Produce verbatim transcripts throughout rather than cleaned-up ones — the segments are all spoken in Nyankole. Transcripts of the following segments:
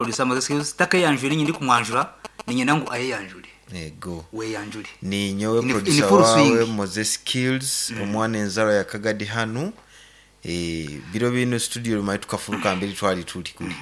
Producer Moses Skills takayanjure, nyindi kumwanjura, ninyenda ngu ayeyanjure. Ego. Weyanjure. Ni nyowe In- in producer full wawe swing. Moses Skills, omwana enzaro ya Kagadi hanu. e, biro bino studio rumai tukafuruka mbere twali tuli kuli,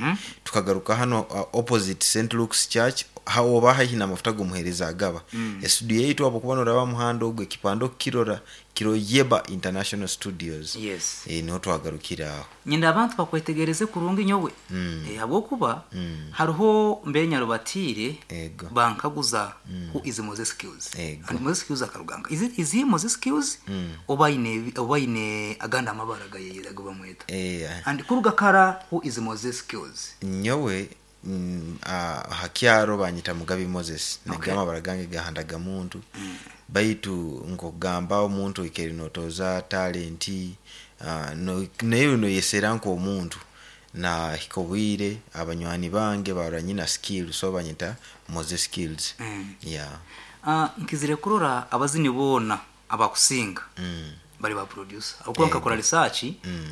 tukagaruka hano uh, opposite Saint Luke's Church, ha oba haihi n'amafuta g'omuheereza agaba mm. Estudio yaitu abo kuba noraba muhanda ogwo ekipande okukirora kiro Yeba International Studios. Yes. e, niho twagarukira aho. Nyenda abantu bakwetegereze kurungi nyowe Mm. Eh, habwokuba Mm. hariho mbere nyarubatire Ego. bankaguza who is Moses Skills. Ego. And Moses Skills akaruganga, is it is he Moses Skills oba ine oba ine aganda amabara gayeyera gabamweta? e, And kuruga kara, who is Moses Skills? Nyowe mm, ah, hakyaro banyita Mugabi Moses. Okay. Nagamba baragange gahandaga muntu baitu nkokugamba omuntu ikeri notoza talenti, ah, no- naye noyesera nk'omuntu nahika obwire abanywani bange barora nyina skill, so banyita Moses Skills. Mm. Yeah. Ah, nkizire kurora abazini boona abakusinga mm. bari ba producer, akuba nkakora research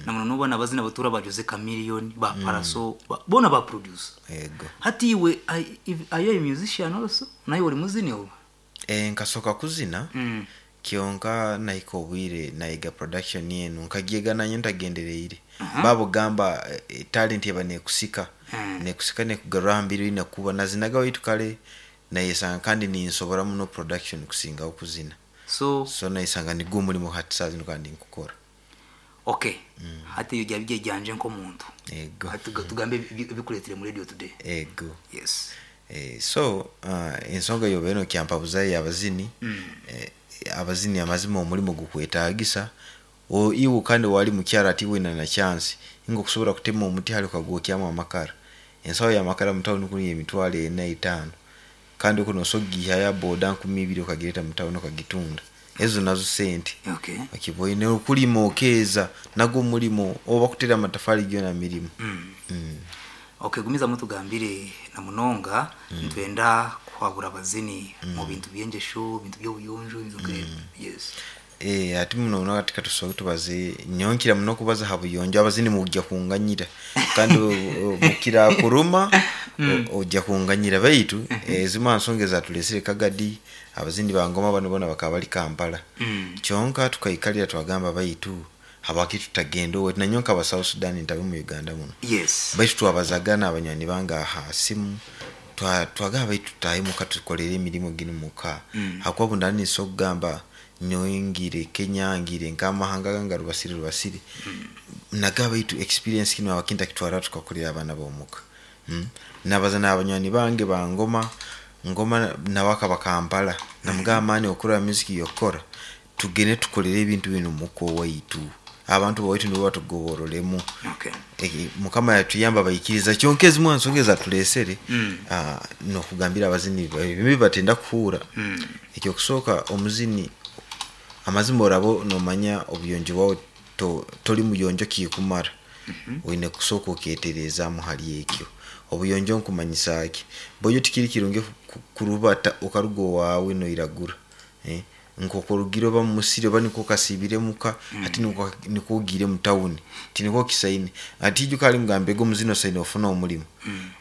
na muno nubona abazina batura ba Jose Chameleone, ba Paraso, ba, bona ba producer. Ego. Hati iwe are if- are you a musician also? Naye uri muzini oba? e, nkasoka kuzina mm. kyonka nahika obwire nayiga production yenu nkagyega nanyo ntagendereire babugamba e, talent eba nekusika Mm. nekusika nekugarura hambiri nekuba nazinaga waitu kale nayesanga kandi ninsobora muno production kusingaho kuzina. So so nayesanga nigwo omurimo hati saa zino kandi nkukora. Okay, hati iyo byaba byejyanje nk'omuntu, Ego. hati tuga- tugambe ebi- ebikuretire muri radio today. Ego. Yes. e, so uh, ensonga yoba eno kyampabuzayo yabazini mm. e, abazini amazima omulimo gukwetagisa. O- iwe kandi wali mukyara ati wina na chance inga okusobola kutema omuti hali okagwokyamu amakara, ensawo yamakara mutawuni kuli emitwalo ena etaano, kandi okuno osogiha ya boda nkumi ibiri okagireta mutawuni okagitunda, ezo nazo sente. Okay okiboine okulima okeeza nagwo omulimo oba kutera amatafari gyona mirimu. mm. mm. Okay, gumiza mutugambire na munonga, ntwenda kuhabura abazini mu bintu byengesho, bintu by'obuyonjo, bintu nk'ebyo. Yes. Eh, ati muno muno katika tusoke tubaze nyonkira muno kubaza ha buyonjo, abazini mujja kunganyira kandi o- o- mukira kuruma o- ojja kunganyira baitu ezimwe nsonga ezatulesere Kagadi, abazini bangoma bano bona bakaba bali Kampala. Mm. Kyonka tukaikalira twagamba baitu habaki tutagenda owe nanyonka aba South Sudan ntabe mu Uganda muno. Yes. Baitu twabazagana abanywani bange aha simu, twa- twagamba baitu tutahe muka tukolere emirimu ginu muka Mm. hakuba bundani nso okugamba nyoyingire Kenya ngire nkamahanga ganga rubasire rubasire nagaba baitu experience kino abakinta kitwara tukakolera abaana bomuka mm? Nabaza n'abanywani bange bangoma ngoma nawaka bakampala namugamba mani okura music yokora tugende tukolere ebintu bino muka owaitu, abantu bawaitu nibo batugoborolemu. Okay. Eki, mukama yatuyamba bayikiriza, kyonka ezimu nsonga ezatulesere Mm. ah, nokugambira abazini ebibi batenda kuhuura. Mm. Ekyokusooka omuzini amazima oraba nomanya obuyonjo bwawe to- toli muyonjo kikumara, oine kusooka oketereezaamu hali ekyo obuyonjo nkumanyisa ki boyo tikiri kirungi ku- kurubata okaruga owaawe noiragura, eh? Nkokorugire oba mumusiri oba niko kasibire muka ati niko niko ogire mu tawuni tiniko kisaine ati ijuka ali mugambe go muzino saine ofuna omulimu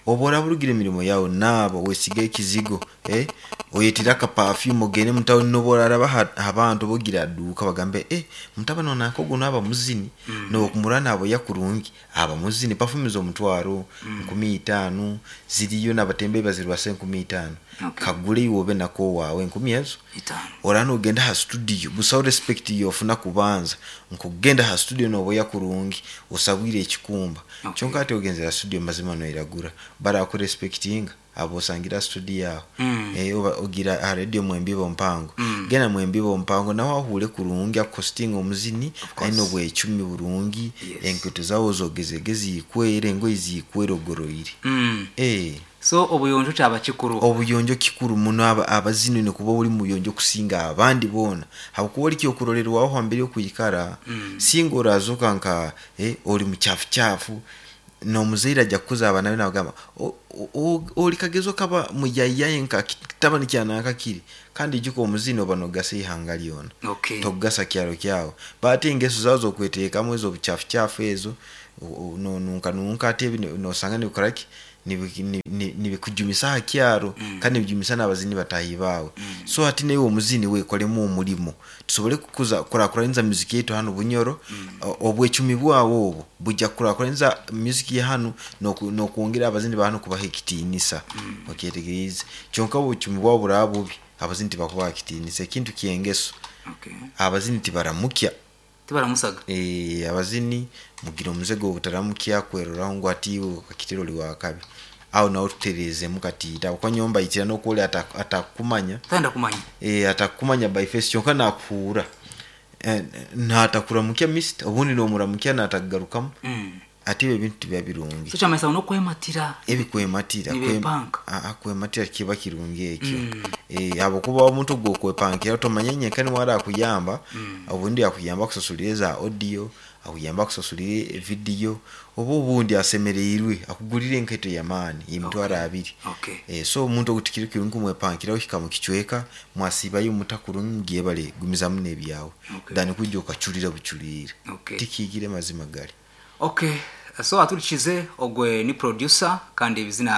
oba oraburugire emirimo yawe naabo wesiga ekizigo, eh? Oyetire aka perfume ogende mu tawuni noba oraraba ha- abantu bogira aduuka bagambe, eh, mutabani onanka ogu naaba muzini mm. Nokumura naabo yakurungi aba muzini perfume z'omutwaro nkumi itaano ziriyo nabatembe bazirwasa enkumi itaano. Okay. Kagure iwe obe nako waawe enkumi ezo Itaano. ora nogenda ha studio busaho respect yofuna kubanza nkugenda ha studio noboya kurungi osabwire ekikumba. Okay. Kyonka ati ogenzera studio mazima noiragura barakurespectinga abo osangira studio yawe. Mm. Eh, oba ogira ha radio mwembibo mpango Mm. genda mwembibo mpango nawe ahure kurungi akostinga omuzini course. aine obwecumi burungi. Yes. Enketo zawo zogezege zikwere engoyi zikwere ogoroire. Mm. Eh. So obuyonjo kyaba kikuru. Obuyonjo kikuru muno, aba- abazini nikuba ori muyonjo kusinga abandi boona habwokuba ori kyokurorerwaho hambere yokwikara Mm. singa orazoka nka eh, ori muchafuchafu nomuzaire ajja kukuza abaana be nabagamba "O- o- o- ori kagezo kaba muyayiyaye nka kitabani kyananka kiri kandi ijuka omuzini oba nogasa ihanga lyona. Okay. Togasa kyaro kyawe baate engeso zawe zokweteekamu ezo obuchafuchafu ezo o- o- nonunka nunka ate ebi nosanga nibikoraki. Nibi- ni- ni- nibikujumisa aha kyaro, kandi nibijumisa n'abazini batahi baawe. So hati naiwe omuzini wekolemu omurimo tusobole kukuza kurakuranyiza music yaitu hanu Bunyoro. o- obwecumi bwawe obwo bujja kukurakuranyiza music ya hanu n'oku- n'okwongera abazini ba hanu kubaha ekitiinisa. Okyetegeriize? Kyonka obucumi bwawe buraba bubi, abazini tibakubaha ekitiinisa. Ekintu kyengeso, Okay. abazini tibaramukya. Tibaramusaga. Eh, abazini mugira omuze gw'obutaramukya, kweroraho ngu ati iwe kakitero oli wakabi. Aho nawe tutereezemu katiita kuko nyomba itira n'okwoli atakumanya. Tayenda kumanya. Eh, atakumanya by face, kyonka nakuhuura. Eh, natakuramukya mist, obundi nomuramukya natagarukamu. Mm. Ati ebyo ebintu tibiba birungi. So kyamanyisa n'okwematira. Ebikwematira. Nibepanka. kwem- ah, kwematira kiba kirungi ekyo. Eh, habwokuba omuntu gwokwepankira tomanya nyenka niwe arakuyamba. Obundi akuyamba akusasulire za audio, akuyamba akusasulire video, oba obundi asemereirwe akugurire enkaito yamaani emitwaro abiri. Okay. Eh, so omuntu ogu tikiri kirungi kumwepankira. Ohika mukicweka mwasibayo mutakurungi, mugiye bale gumizamu n'ebyawe Okay. than kwijja okacurira bucurire. Okay. Tikigire mazima gali. Okay, so aturikize ogwe ni producer kandi ebizina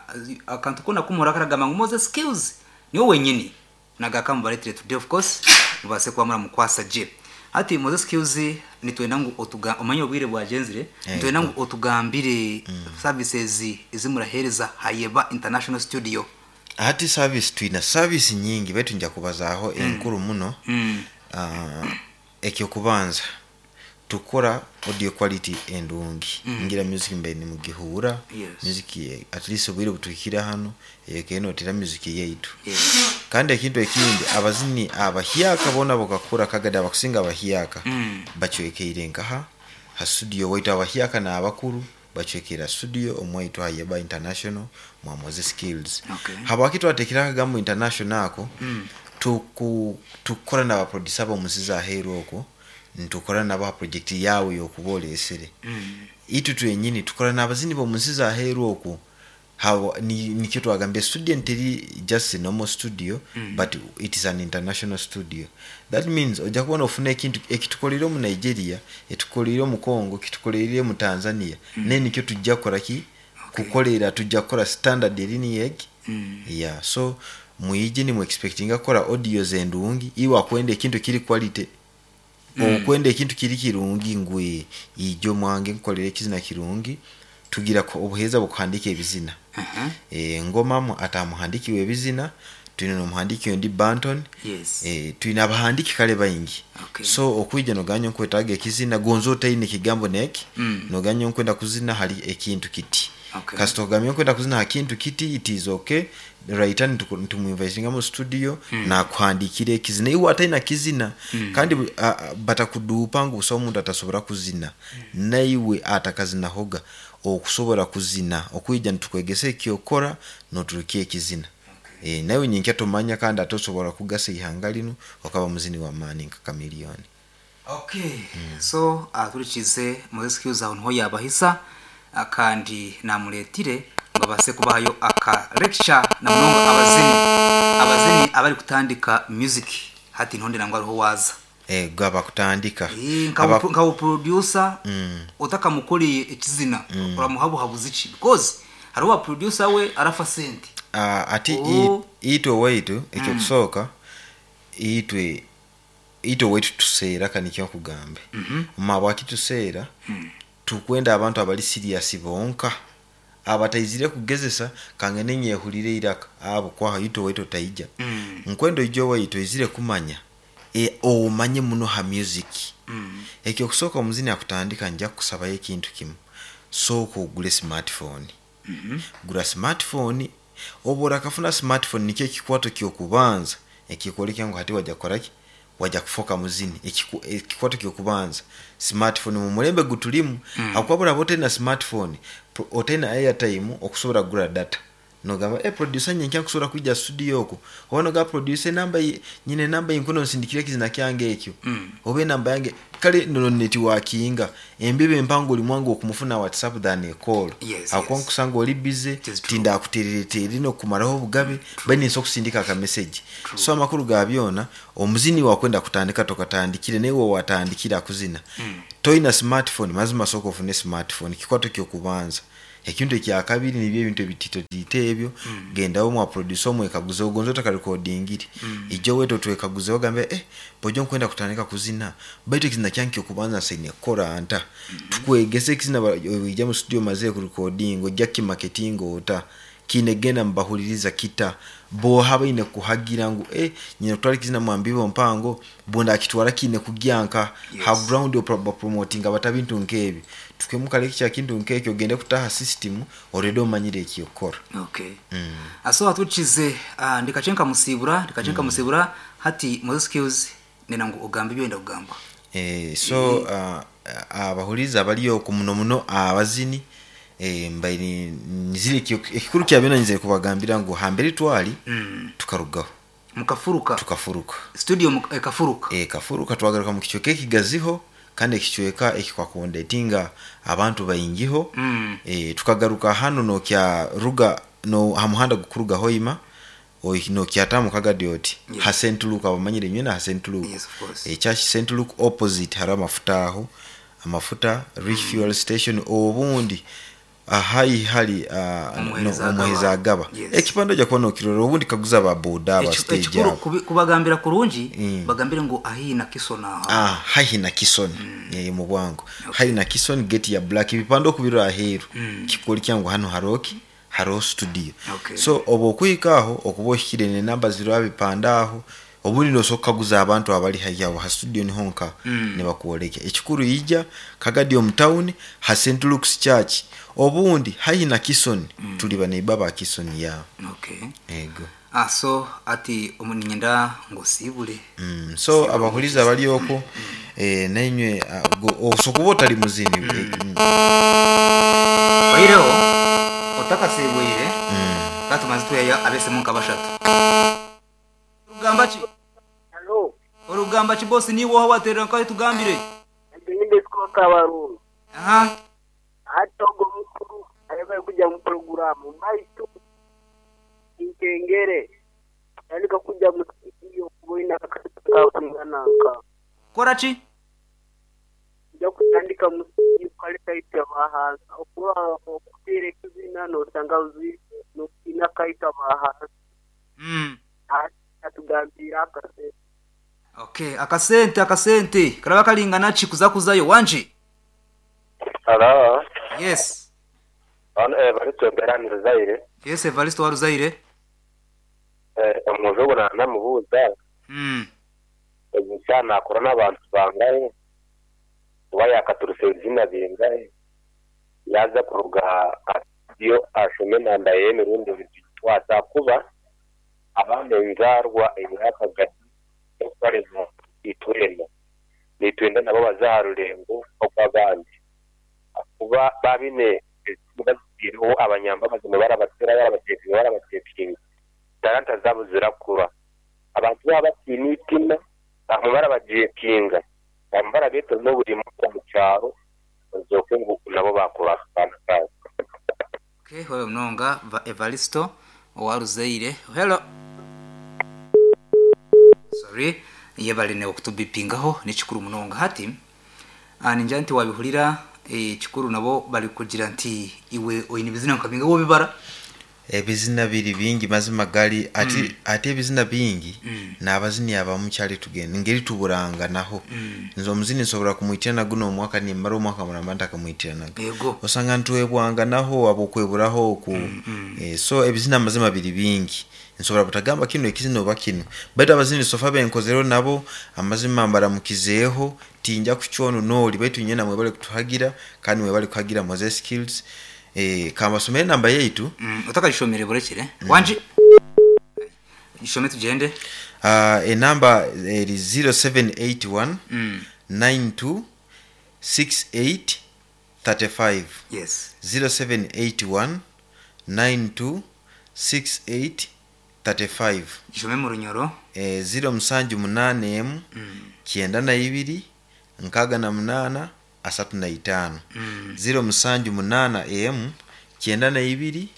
uh, akantu kona kumuhora karagamba ngu Moses Skills niwe wenyini nagakamubaretire today. Of course mubase kuba muramukwasa je. Ati Moses Skills, nitwenda ngu otuga omanye obwire bwagenzire. Nitwenda ngu otugambire services ezimurahereza Hayeba International Studio. Hati service, twina service nyingi, baitu nja kubazaaho enkuru muno. mm. Ah, ekyokubanza tukora audio quality endungi. Ngira music mbe nimugihura. Yes. Music ye- at least obwire butuhikire hano ekenotera music yaitu. Yes. Kandi ekintu ekindi, abazini abahyaka bona bokakura kagada abakusinga abahyaka Mm. bacwekeire nkaha ha studio waitu. Abahyaka n'abakuru bacwekera studio omwaitu Hayeba International mwa Moses Skills. Okay. Habwaki twatekera akagambo international ako? Tuku tukora n'abaproducer b'omunsi zaheeru okwo, nitukora nabo ha project yawe yokuba olesere. Mm. Itu twenyini tukora n'abazini b'omunsi zaheeru okwo. Hawa ni, nikyo twagambye studio nteri just a normal studio, mm. but it is an international studio. That means ojja kubona ofuna ekintu ekitukolere mu Nigeria, etukolere mu Congo, kitukolere mu Tanzania, mm. naye nikyo tujja kukola ki? Okay. Kukolera tujja kukola standard eri egi. Mm. Yeah, so mwije nimu expectinga kukola audios endungi. Iwe akwenda ekintu kiri quality, mm. okwenda ekintu kiri kirungi, ngwe ijo mwange nkukolera ekizina kirungi. Tugira ko obuheeza bukuhandika ebizina. Uh-huh. E, ngomamu atamuhandikiwe ebizina, twine n'omuhandiki ondi Banton. Yes. E, twine abahandiki kale baingi. Okay. So okwija noganya nkwetaaga ekizina gonza otaine ekigambo neki, Mm. noganya nkwenda kuzina hali ekintu kiti. Okay. Kasita ogambye nkwenda kuzina ha kintu kiti, it is okay, right? Ntumuinvitinga mu studio, mm. nakuhandikira ekizina iwe ataina kizina. mm. Kandi bu- a- a- batakuduupa ngu busaho omuntu atasobora kuzina. mm. Naiwe atakazinahoga okusobora kuzina, okwija nitukwegesa ekyokora noturukia ekizina. Okay. E, nawe nyinkya tomanya kandi ate osobola kugasa ihanga linu okaba muzini wa maani nka Kamiliyoni. Okay, so aturikize Moses Skills aho niho yabahisa. ah, kandi namuretire ngo abase kubahayo aka lecture na munonga abazini abazini abari kutandika music. Hati ntonde nangwa ariho waza. E, gaba kutandika. Eh, nka Aba- nka producer utakamukoreye ekizina uramuhabuhabuza iki? Because hariho wa producer we arafa sente. Ah, ati Oh. i- itwe waitu ekyokusooka, itwe itwe waitu tuseera kanikyo nkugambe mabwaki tuseera. Tukwenda abantu abali serious bonka, abataizire kugezesa kangene nyehulire iraka abo kwaha itwe waitu otaija. Mm. Nkwenda oije waitu oizire kumanya, e, omanye muno ha music. Mm. Ekyokusooka, omuzini akutandika, nja kukusabayo ekintu kimu: sooka ogule smartphone. Gura smartphone. Oba orakafuna smartphone, nikyo ekikwato kyokubanza ekikwoleka ngu hati wajja kukoraki, wajja kufoka muzini. Ekiku- ekikwato kyokubanza smartphone mu mulembe gutulimu. mm. Akuba buraba otaina smartphone, pro- otaina airtime okusobola kugura data, nogamba e producer nyenkya nkusobola kwijja studio okwo, oba nogamba producer enamba ye- nyine enamba yinkuno nsindikire ekizina kyange ekyo, Mm. oba enamba yange kale nono networkinga embibo empango oli mwangu okumufuna WhatsApp than a call. Yes, Akuba yes. nkusanga oli busy, It is true. tindakutereretere nokumaraho obugabe bainensa okusindika akameseji. So amakuru ga byona, omuzini wakwenda kutandika tokatandikire, naye watandikira kuzina, toyina smartphone, mazima sooka ofune smartphone, kikwato kyokubanza. Ekintu ekyakabiri nibyo ebintu ebitito ebyo, gendaho mwa producer omwekaguze ogonza otakarekodingire, ijja wetu otwekaguze ogambe eh bojo nkwenda kutandika kuzina, baitu ekizina kyange okubanza nsaine kukora nta. Tukwegese ekizina, ojja mu studio maze kurekodinga, ojja kimarketing ota kiine genda mubahuliriza kita boha baine kuhagira ngu eh nyine kutwara ekizina mwambibo mpango bunda akitwara kiine kugyanka. Yes. Ha ground promoting abata bintu nkebi tukemukale kya kintu nkekyo ogende kutaha system already omanyire ekiyokora. Okay, aso atukize uh, ndikachenka musibura ndikachenka musibura hati Moses Skills nena ngu ogamba ebyenda kugamba. Eh, so uh, abahuriza abali oku muno muno abazini, eh, mbaire nizire ekikuru kya byona nizire kubagambira ngu hambere twali mm. tukarugaho. Mukafuruka. Tukafuruka. Studio muka- ekafuruka. E, kafuruka twagaruka mu kicweka ekigaziho kandi ekicweka ekikwakondetinga abantu baingiho. mm. E, tukagaruka hano nokya ruga no ha muhanda gukuruga hoima nokyatamu kagadi oti Yes. ha Saint Luke, abamanyire nywena ha Saint Luke. Yes, of course. E, church Saint Luke opposite hari amafuta aho, amafuta refuel station, obundi ahai hali uh, Omuheereza no, omuheereza agaba. agaba. Yes. Ekipande ojja kuba nokirora obundi kaguza ba boda aba Eki- stage ekikuru abo. kubi- kubagambira kurungi, Mm. bagambire ngu ahiina kisona aha. Ah, haihi na Kison mm. Mu bwangu haihi na Kison gate ya black, ebipande okubirora aheeru Mm. kikoli kyangu hano haroki hariho studio. Okay. So oba okuhika aho okuba ohikire nenamba ziriho abipande aho, obundi nosobola kukaguza abantu abali haihi aho ha studio niho nka Mm. nibakwoleka. Ekikuru ija kagadi omu town ha Saint Luke's Church, obundi haihi na Kison, tuli baneiba ba Kison ya. Okay. Ego. Ah, so ati omu- ninyenda ngu osiibule. Mm, so abahuriza abali okwo, eh, nainywe ah, go- osobola kuba otali muzini eh, mm, oyireho otakasibwire katumaze tweya abesemu nka bashatu. Orugamba ki? Halo, Orugamba ki bosi niwe oha waterera nkahe tugambire. nyinde siko kabarungu. Aha. Hata ogo mukuru ayebale kujja mu programu baitu inkengere yandika kujja mu studio kuboina kakungananka. Kora ki? Nja kutandika mu studio kaleta ita bahansa okuba okuteera ekizina nosanga uzi nokina kaita bahansa. Mm. Atugambira akase. Okay, akasente akasente karaba kalingana ki kuza kuzayo wanje? Hello. Yes. Hano Evaristo Berani Ruzaire. Yes, Evaristo wa Ruzaire. Eh, omujungu namubuuza Mm. egisha nakora n'abantu bangahe kuba yakaturuse ebizina bingahe yaza kuruga yo ashome namba y'emirundi bitwasa kuba abaana enzarwa eyakagati okutwariza itwena nitwenda nabo baza aha rurengo okw'abandi kuba babine bazitireho abanyambabazi barabatera barabatekinga barabatekinga talanta zabo zirakura abantu baba batiina itima bamwe barabajekinga bamwe barabeta n'oburimu omu kyaro bazooke ngu nabo bakura akaana kaabo. Okay, wewe mnonga va Evaristo wa Ruzaire. Hello. Sorry, yebaline okutubipingaho nekikuru munonga hati. Ah, ninja nti wabihurira eh, kikuru nabo bali kugira nti iwe oyine bizina nkabinga wo bibara. Ebizina biri bingi mazima gali ati, mm. Ate ebizina bingi Mm. n'abazini abamu kyali tugenda ngeri tuburanganaho. Mm. Nze omuzini nsobola kumwitira guno omwaka nimara omwaka muramba ntakamwitiranaga, Yego. osanga ntwebwanganaho abokweburaho oku. Mm, Eh, so ebizina amazima biri bingi nsobola butagamba kino ekizina oba kino, baitu abazini sofa benkozereho nabo amazima mbaramukizeeho tinja kucwono nooli, baitu nyena mwebale kutuhagira kandi mwebale kuhagira Moses Skills. Eh, kambasomere namba yaitu. Mm, utakajishomere burekere. Wanje. Ishome tugende. Uh, enamba eri zero seven eight one Mm. nine two six eight thirty five. Yes. zero seven eight one nine two six eight thirty five. Ishome mu runyoro. Eh, zero musanju munane emu Mm. kyenda na ibiri nkaaga na munaana asatu na itaano. Mm. Zero musanju munaana emu kyenda na ibiri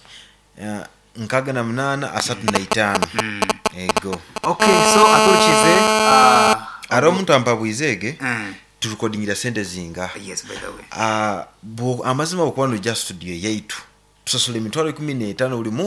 uh, nkaaga na munaana asatu na itaano. Mm. Ego. Okay, so aturukize uh, Ari omuntu ampabwizeege mm. turukodingira sente zinga. Yes, by the way. Ah, bwo- amazima bwokuba nojja studio yaitu Tusasula emitwaro ikumi n'etaano buri.